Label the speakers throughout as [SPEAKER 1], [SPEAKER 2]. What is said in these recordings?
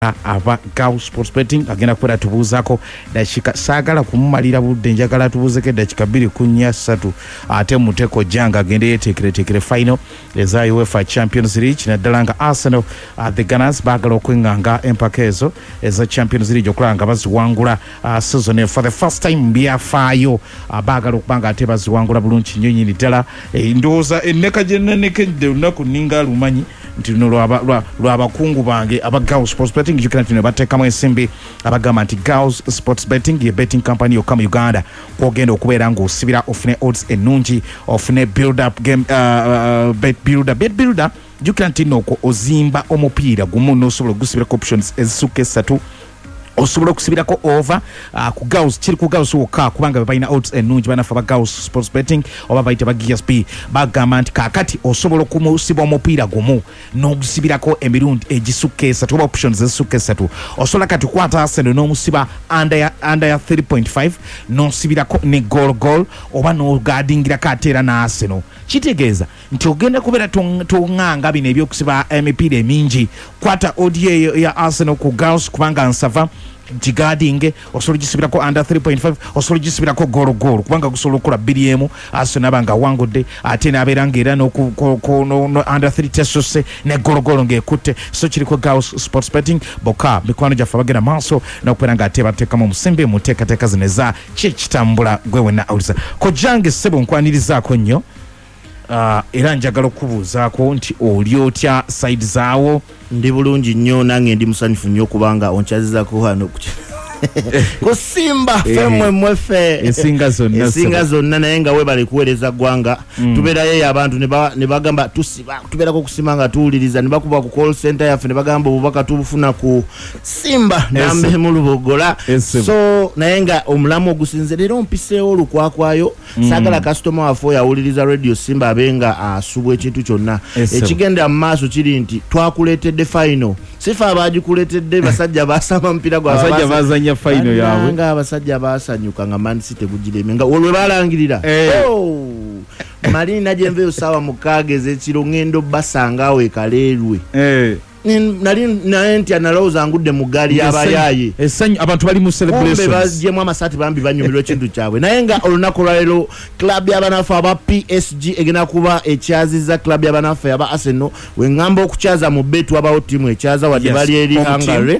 [SPEAKER 1] Aba Gao Sports Betting agenda kubeera atubuuzaako dakiika, saagala kumumalira budde, njagala atubuuzeko eddakiika 2 ku 4 3, ate muteko janga agende yeteekereteekere final eza UEFA Champions League, naddala nga Arsenal, the Gunners, baagala okweŋŋanga empaka ezo eza Champions League okulaba nga baziwangula season for the first time mu byafaayo. Baagala okuba nga ate baziwangula bulungi nnyo nyini ddala. Ndowooza enneka gye nanekedde olunaku nninga lumanyi nti luno lwabakungu bange aba Gao Sports Betting. Jjukira nti ne bateekamu ensimbi, abagamba nti Gao Sports Betting ye betting company yokka mu Uganda kwogenda okubeera ng'osibira ofune odds ennungi, ofune build up game, bet builder. Bet builder, jjukira nti nno okwo ozimba omupiira gumu n'osobola ogusibirako options ezisukka esatu. Osobola okusibirako over ku Gauss, kiri ku Gauss wokka kubanga be balina odds ennungi. Banaffe aba Gauss Sports Betting oba bayita ba GSB bagamba nti kaakati osobola okumusiba omupiira gumu n'ogusibirako emirundi egisukka esatu oba options ezisukka esatu. Osobola kati kukwata Arsenal n'omusiba under ya 3.5, n'osibirako ne goal goal oba n'ogadingirako ate era n'Arsenal. Kitegeeza nti ogenda kubeera toŋŋanga bino ebyokusiba emipiira emingi. Kwata odd eyo ya Arsenal ku Gauss kubanga nsava gigadinge, osobola ogisibirako under 3.5, osobola ogisibirako goal goal kubanga gusobola okukola 2-1, Arsenal aba nga awangudde, ate n'abeera nga era under 3 tesose ne goal goal ng'ekutte. So kiriko Gauss Sports Betting bokka, mikwano gyaffe abagenda maaso n'okubeera nga ate bateekamu omusimbi mu nteekateeka zino eza kyekitambula. Gwe wenna awuliza kojjange, ssebo, nkwanirizaako nnyo. Era njagala okubuuzaako nti oli otya side zaawo?
[SPEAKER 2] Ndi bulungi nnyo, nange ndi musanyufu nnyo okubanga onkyazizako wano ku Simba Femmwe mweffe.
[SPEAKER 1] Esinga zonna.
[SPEAKER 2] Esinga zonna. Naye nga webale kuweereza ggwanga. Tubeerayo eyo abantu ne bagamba tusiba, tubeerako okusima nga tuwuliriza, ne bakuba ku call center yaffe ne bagamba obubaka tubufuna ku Simba nambe mu Lubogola. So naye nga omulamu ogusinze leero mpiseewo olukwakwayo, saagala kasitoma waffe oyo awuliriza Radio Simba abe nga asubwa ekintu kyonna. Ekigenda mu maaso kiri nti twakuleetedde final, sife abagikuleetedde, basajja basamba mupiira gwabwe.
[SPEAKER 1] Abasajja bazanya final yaabwe.
[SPEAKER 2] Bannange, abasajja basanyuka nga Man City gugiremye nga olwe balangirira. Oh! Malina gyenveeyo saawa 6 ez'ekiro ŋŋenda obbasanga awo ekaleerwe. Nali naye ntya, nalowooza ngudde mu ggaali y'abayaaye.
[SPEAKER 1] Essanyu, abantu bali mu
[SPEAKER 2] kumbe
[SPEAKER 1] celebrations.
[SPEAKER 2] Bagyemu amasaati bambi banyumirwa ekintu kyabwe. Naye nga olunaku olwaleero club y'abanaffe aba PSG egenda kuba ekyaziza club y'abanaffe aba Arsenal. Weŋŋamba okukyaza mu bet, wabawo ttiimu ekyaza wadde bali eri
[SPEAKER 1] home team.
[SPEAKER 2] Hungary.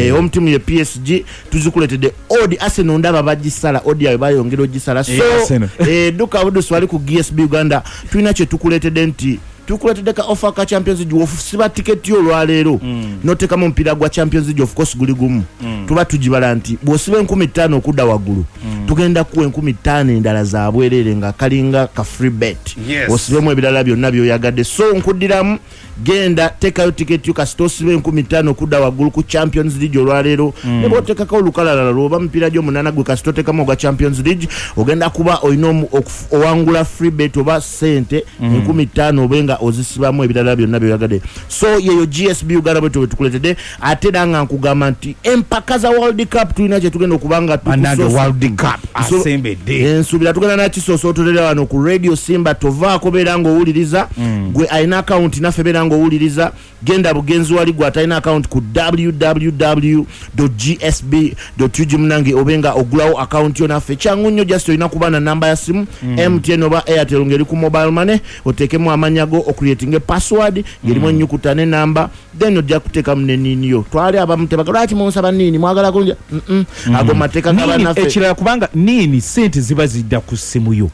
[SPEAKER 2] Home team ye PSG. Tuzikuleetedde odd Arsenal ndaba bagisala, odd yawe bayongera ogisala. So
[SPEAKER 1] Arsenal.
[SPEAKER 2] Duka budusi wali ku GSB Uganda, tulina kye tukuleetedde nti tukuleetedde ka offer ka Champions League. Wofusiba tiketi olwaleero notekamu omupiira gwa Champions League, of course guli gumu, tuba tugibala nti bw'osiba 5000 okudda waggulu, tugenda kuwa 5000 endala za bwereere nga kalinga ka free bet. Osibemu ebirala byonna by'oyagadde. So nkuddiramu, genda teekayo tiketi yo, kasita osiba 5000 okudda waggulu ku Champions League olwaleero, ne bw'oteekako olukalalala lwoba mupiira gy'omunaana, gwe kasita oteekamu ogwa Champions League, ogenda kuba olina owangula free bet oba sente 5000, obe nga ozisibamu ebirala byonna byoyagadde. So yeyo GSB Uganda bwetyo bwetukuletedde. Ate era nga nkugamba nti empaka za World Cup tulina kyetugenda okuba nga
[SPEAKER 1] Bannange, World Cup asembedde.
[SPEAKER 2] Ensuubira tugenda nakisoosootolera wano ku Radio Simba. Tovaako, beera ng'owuliriza. Gwe alina akawunti naffe, beera ng'owuliriza, genda bugenzi wali. Gwe atalina akawunti, ku www gsb ug, munange, obe nga ogulawo akawunti yo naffe. Kyangu nnyo, just olina kuba na namba ya simu MTN oba Airtel ng'eri ku mobile money, oteekemu amanya go, ocreatinge password ng'erimu ennyukuta n'enamba, then ojja kuteekamu neniini yo. Twali abamu tebaga lwaki munsaba niini, mwagala kunja. Ago mateeka
[SPEAKER 1] Niini,
[SPEAKER 2] gabannaffe.
[SPEAKER 1] Ekirala, kubanga niini sente ziba zidda ku ssimu yo,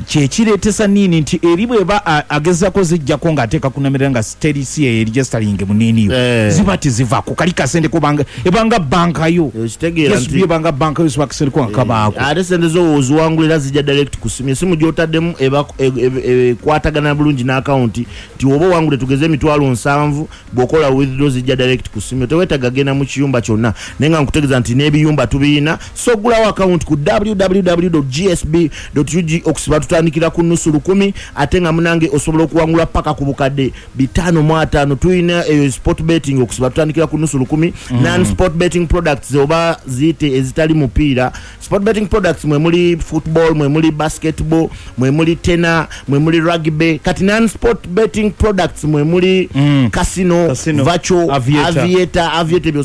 [SPEAKER 1] kyekireetesa niini nti eri bweba agezaako zijjako ng'ateeka kunamirira nga teri si yeregisteringe mu niini yo, ziba tezivaako kali kasente kubanga ebanga banka yo.
[SPEAKER 2] Ekitegeera
[SPEAKER 1] Yes, ebanga banka yo, siba kasente kuba kabaako.
[SPEAKER 2] Ate sente zo oziwangulira zijja direct ku simu. Esimu gy'otaddemu ekwatagana bulungi n'akawunti nti oba owangule tugeze 700,000, bw'okola withdraw zijja direct ku simu, teweetaaga genda mu kiyumba kyonna. Naye nga nkutegeeza nti n'ebiyumba tubiyina. So ogulawo akawunti ku www gsb ug. Okusiba tutandikira ku nusu lukumi, ate nga munange osobola okuwangula paka ku 550,000. Tulina eyo sport betting, okusiba tutandikira ku nusu lukumi. Non sport betting products oba ziyite ezitali mupiira, sport betting products mwe muli football, mwe muli basketball, mwe muli tennis, mwe muli rugby. Kati non sport betting products mwe muli casino,
[SPEAKER 1] Casino,
[SPEAKER 2] virtual,
[SPEAKER 1] aviator.
[SPEAKER 2] Aviator, aviator ebyo.